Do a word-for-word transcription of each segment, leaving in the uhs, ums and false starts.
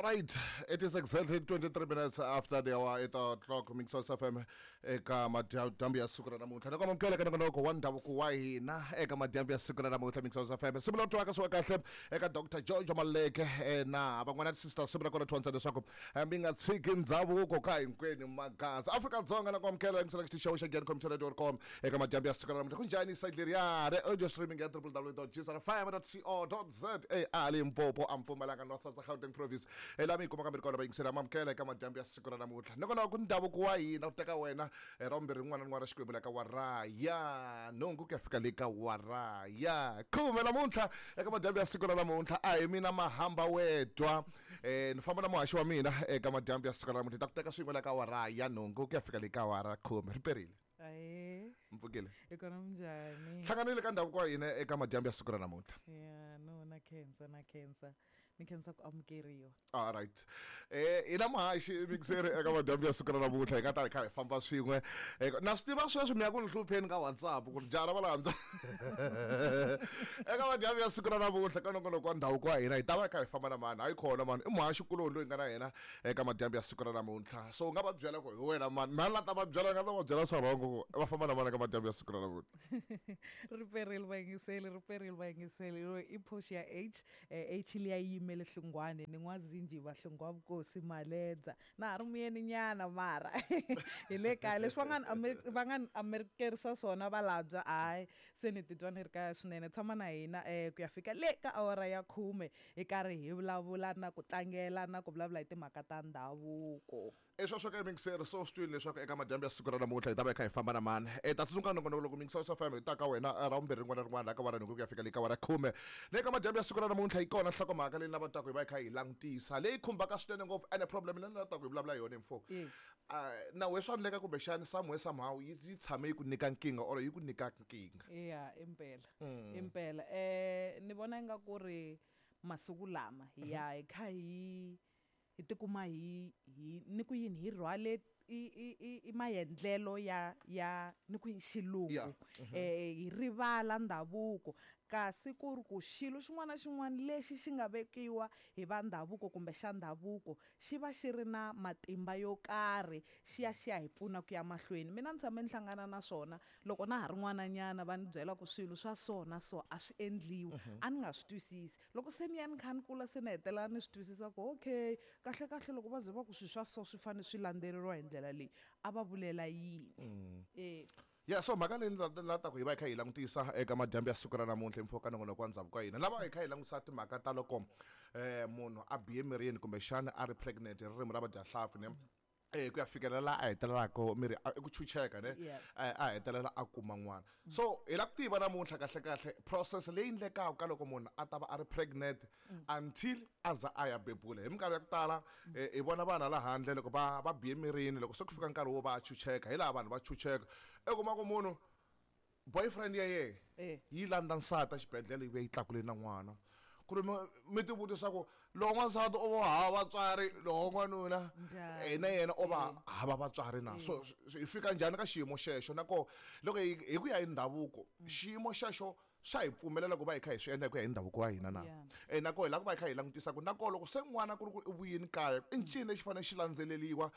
All right, it is exactly twenty-three minutes after the hour eight o'clock. Mixos F M eka madyambu ya siku ra namuntlha. Na kona mukela ka nongonoko wa ndhavuko wa hina eka madyambu ya siku ra namuntlha Mixos F M. Simu lo twaka swa kahle eka Doctor George Maleke na van'wana sister simu ra kona twantsa leswaku mi nga tshiki ndhavuko ka hinkwenu magaza. Afrika Dzonga na kwamukela ngisela xitichi xa Gyan Computer dot com eka madyambu ya siku ra namuntlha. Kunjhani site leriya re audio streaming ya w w w dot g s r f m dot co dot z a Limpopo Mpumalanga North Gauteng Province. Elami kuma kambe kona bayingisela mamukela eka madyambu ya siku ra namuntlha. Nakona ku ndhavuko wa hina ku teka wena ra vumbirhi rin'wana na rin'wana ra Xikwembu la ka waraya nhungu ku ya fika le ka waraya khume namuntlha eka madyambu ya siku ra namuntlha a hi mina mahamba wedwa eh ni famba na muhaxi wa mina eka madyambu ya siku ra namuntlha ta ku teka swin'we la ka waraya nhungu ku ya fika le ka wara khume riperile. Aye. Mpfukile. Ikona mnjani? Hlanganile ka ndhavuko wa hina eka madyambu ya siku ra namuntlha. Yeah, no na khensa na khensa. Ni khensa ku amukeriwa. All right. Eh ina muhaxi mixere eka madyambu ya siku ra namuntlha hi nga ta hi kha hi famba swin'we. Na swi tiva sweswi mi ya ku ni hlupheni ka WhatsApp ku ri jara va landza. Eka madyambu ya siku ra namuntlha ka nongonoko wa ndhavuko wa hina hi ta va hi kha hi famba na mani. Hayi khona mani i muhaxi kuloni loyi nga na yena eka madyambu ya siku ra namuntlha. So u nga va byela ku hi wena mani. Mani la ta va byela nga ta va byela swa rhongo va famba na mani eka madyambu ya siku ra namuntlha. Riperile vayingiseli, riperile vayingiseli. I Portia H, H liya yimele Hlungwane ni n'wazinji va Hlungwa Vukosi Maledza. Na ha ri muyeni nyana mara. Hi le kaya leswi va nga va nga amerikerisa swona va labya hayi se ni titwa ni ri kaya swinene. Tshama na hina ku ya fika le ka awara ya khume hi karhi hi vulavula na ku tlangela na ku vulavula hi timhaka ta ndhavuko. Esweswo ka mixer so swi twile leswaku eka madyambu ya siku ra namuntlha hi ta va hi kha hi famba na mani. E ta tsundzuka nongonoko loko Mixer F M hi ta ka wena ra vumbirhi rin'wana na rin'wana la ka wara nhungu ku ya fika le ka wara khume. Le ka madyambu ya siku ra namuntlha hi kona nhlokomhaka leyi lavaka hi va hi kha hi langutisa leyi khumbaka swinene ngopfu ene problem leyi lavaka hi vulavula yona mfo. Na we swa endleka kumbexani somewhere somehow yi tshame yi ku nyika nkingha or yi ku nyika nkingha. Yeah, impela. Impela. Eh ni vona inga ku ri masiku lama ya hi kha hi hi tikuma hi hi ni ku yini hi rhwale i i i maendlelo ya ya ni ku xilungu eh hi rivala ndhavuko kasi ku ri ku xilo xin'wana na xin'wana lexi xi nga vekiwa hi va ndhavuko kumbe xa ndhavuko xi va xi ri na matimba yo karhi xi ya xi ya hi pfuna ku ya mahlweni. Mina ni tshame ni hlangana na swona loko na ha ri n'wananyana va ni byela ku swilo swa so na so a swi endliwi a ni nga swi twisisi. Loko se ni ya ni kha ni kula se ni hetelela ni swi twisisa ku okay kahle kahle loko va ze va ku swilo swa so swi fanele swi landzeleriwa hi ndlela leyi a va vulela yini. Eh Yeah, so mhaka leyi la ta ku hi va hi kha hi langutisa eka madyambu ya siku ra namuntlha mfo ka nongonoko wa ndhavuko wa hina lava hi kha hi langutisa timhaka ta loko eh munhu a biye mirini kumbexana a ri pregnant hi ririmi ra vadyahlampfi ne eh ku ya fikelela la a hetelelaka miri ku chucheka ne a hetelela a kuma n'wana. So hi la ku tiva namuntlha kahle kahle process leyi endlekaka ka loko munhu a ta va a ri pregnant until a za a ya bebula. Hi minkarhi ya ku tala hi vona vana la handle loko va va biye mirini loko se ku fika nkarhi wo va chucheka hi laha vanhu va chucheka i kuma ku munhu boyfriend ya yena yi landza nsati exibedhlele yi vuya yi tlakule na n'wana. Ku ri mi ti vutisa ku loko n'wansati o va hava vatswari loko n'wanuna na yena o va hava vatswari na so hi fika njhani ka xiyimo xexo na koho loko hi ku ya hi ndhavuko xiyimo xexo xa hi pfumelela ku va hi kha hi swi endla hi ku ya hi ndhavuko wa hina na e na koho hi lava ku va hi kha hi langutisa ku na koho loko se n'wana ku ri ku i vuyini kaya i ncini lexi fanele xi landzeleriwa um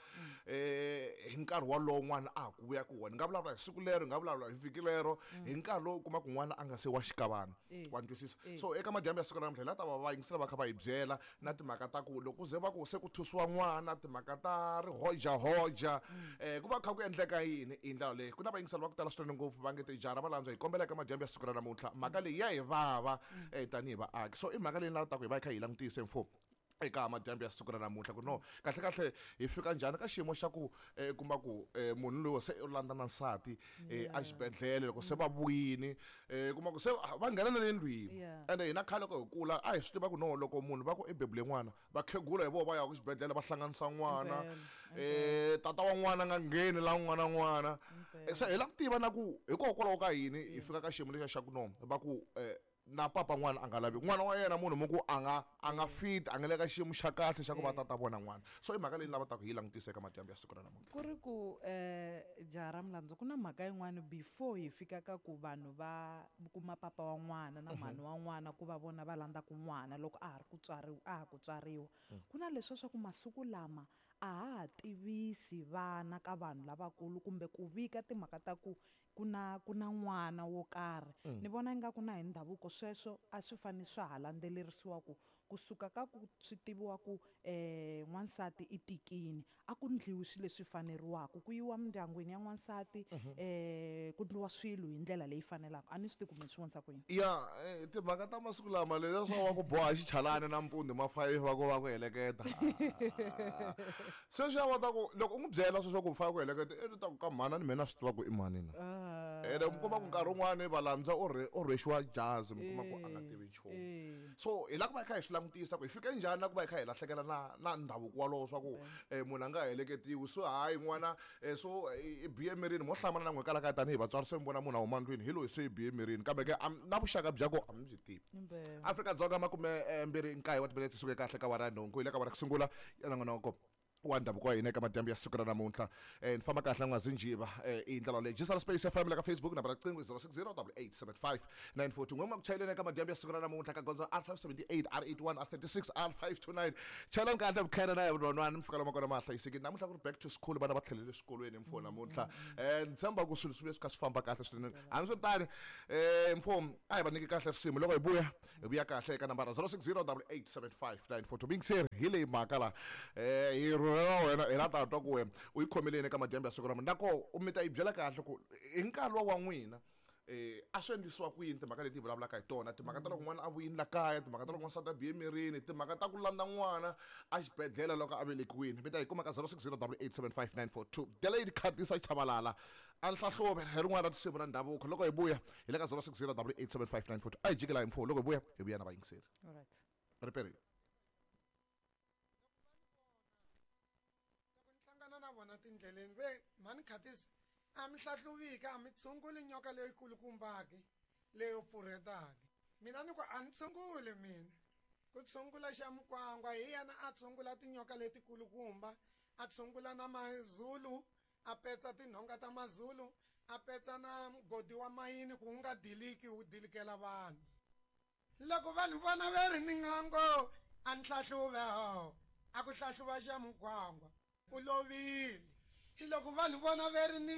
hi nkarhi wolowo n'wana a ha ku vuya ku wona. Ni nga vulavula hi siku lero, ni nga vulavula hi vhiki lero, hi nkarhi lowu u kuma ku n'wana a nga se wa xikavana wa ni twisisa. So eka madyambu ya siku ra namuntlha hi la ta va va yingisela va kha va hi byela na timhaka ta ku loko ku ze va ku se ku thusiwa n'wana timhaka ta rihojahoja um ku va kha ku endleka yini hi ndlela leyi. Ku na vayingiseli va ku tala swinene ngopfu va nge tijara va landzwa hi kombela eka madyambu ya siku ra namuntlha mhaka leyi ya hi vava eh tanihi vaaki. So i mhaka leyi ni lavaka ku hi va hi kha hi langutise mfo eka madyambu ya siku ra namuntlha ku no kahle kahle hi fika njhani ka xiyimo xa ku kuma ku munhu loyi se u landza na nsati exibedhlele loko se va vuyini kuma ku se va nghena na le ndlwini. Ende hina khale loko hi kula a hi swi tiva ku no loko munhu va ku i bebule n'wana vakhegula hi vona va ya ku xibedhlele va hlanganisa n'wana um tata wa n'wana nga ngheni la n'wana n'wana. Se hi lava ku tiva na ku hikokwalaho ka yini hi fika ka xiyimo lexiya xa ku no va ku um na papa n'wana a nga lavi n'wana wa yena munhu mi ku a nga a nga fit a nga le ka xiyimo xa kahle xa ku va tata vona n'wana. So i mhaka leyi ni lavaka ku hi langutisa eka madyambu ya siku ra namuntlha. Ku ri ku um jaha ra Mulandzu, ku na mhaka yin'wani before hi fika ka ku vanhu va kuma papa wa n'wana na mhani wa n'wana ku va vona va landzaku n'wana loko a ha ri ku tswariwa, a ha ku tswariwa. Ku na leswiya swa ku masiku lama a ha ha tivisi vana ka vanhu lavakulu kumbe ku vika timhaka ta ku ku na ku na n'wana wo karhi. Ni vona ingaku na hi ndhavuko sweswo a swi fanele swa ha landzelerisiwa ku kusuka ka ku swi tiviwa ku um n'wansati i tikini, a ku ndliwi swilo leswi faneriwaka, ku yiwa mindyangwini ya n'wansati, um ku ndliwa swilo hi ndlela leyi fanelaka. A ni swi tivi ku mi swi vonisa ku yini. Ya, eh, timhaka ta masiku lama leswiya swa wa ku boha xichalani nampundzu ma five va ku va ku heleketa. Sweswiya va ta ku loko u n'wi byela sweswo ku fa ku heleketa, i ta ku ka mhani ni mina na swi tiva ku i mhani na. Ene mi kuma ku nkarhi wun'wani valandza u rhe u rhwexiwa jazi, mi kuma ku a nga tivi nchumu. So hi lava ku va hi kha hi swi langutisa ku hi fike njhani na ku va hi kha hi lahlekela na na ndhavuko walowo swa ku munhu a nga heleketiwi. So hayi n'wana so i biye emirini, mo hlamala na n'we kwala kaya tanihi vatswari, se mi vona munhu a huma ndlwini hi loyi se i biye emirini, kambe ke na vuxaka bya ko a mi byi tivi. Afrika-Dzonga makume mbirhi nkaye wa timinetse suke kahle ka awara ya nhungu, hi le ka awara ku sungula ya nongonoko wa ndhavuko wa hina eka madyambu ya siku ra namuntlha. Ni famba kahle n'wazinjiva i ndlela leyi Gisela Space F M le ka Facebook, nambara riqingho zero six zero double eight seven five nine four two. N'we ku chayeleni eka madyambu ya siku ra namuntlha ka gondzo R five seventy eight, R eighty one, R thirty six, R five two nine. Chayelani kahle vukhena na vunonwani, mi fika lomu kona ma hlayisekile. Namuntlha ku ri back to school, vana va tlhelele swikolweni mfo namuntlha. Ni tshemba ku swilo swi vuye swi kha swi famba kahle swinene. Hambiswiritano mfo a hi va nyiki kahle risimu, loko hi vuya hi vuya kahle eka nambara zero six zero double eight seven five nine four two. Mingiseri hi leyi mhaka la hi rhurhela wena hi la ta twa ku wena u yi khomeleni eka madyambu ya siku ra mina, nako mi ta yi byela kahle ku hi nkarhi wa n'wina eh a swi endlisiwa ku yini timhaka leti hi vulavulaka hi tona, timhaka ta loko n'wana a vuyini la kaya, timhaka ta loko n'wansati a biye emirini, timhaka ta ku landza n'wana a xibedhlele loko a velekiwile. Mi ta yi kuma ka zero six zero double eight seven five nine four two. Delayed Khatisa Chabalala a nhlahluve hi rin'wana ra tinsimu ra ndhavuko. Loko hi vuya hi le ka zero six zero double eight seven five nine four two. A hi jikela hi mfuwo, loko hi vuya hi vuya na vayingiseri. Alright. Riperile. Hlangana na vona tindleleni ve mhani Khatisa a mi hlahluviki, a mi tshunguli nyoka leyikulukumbaki leyo pfurhetaki. Mina ni ku a ni tshunguli mina, ku tshungula xa Mukwangwa hi yena a tshungula tinyoka letikulukumba, a tshungula na mazulu, a petsa tinhonga ta mazulu, a petsa na mugodi wa mayini ku wu nga diliki wu dilikela vanhu. Loko vanhu vona va ri ni ngango a ni hlahluve ho, a ku hlahluva xa Mukwangwa u lovile. Loko vanhu vona va ri ni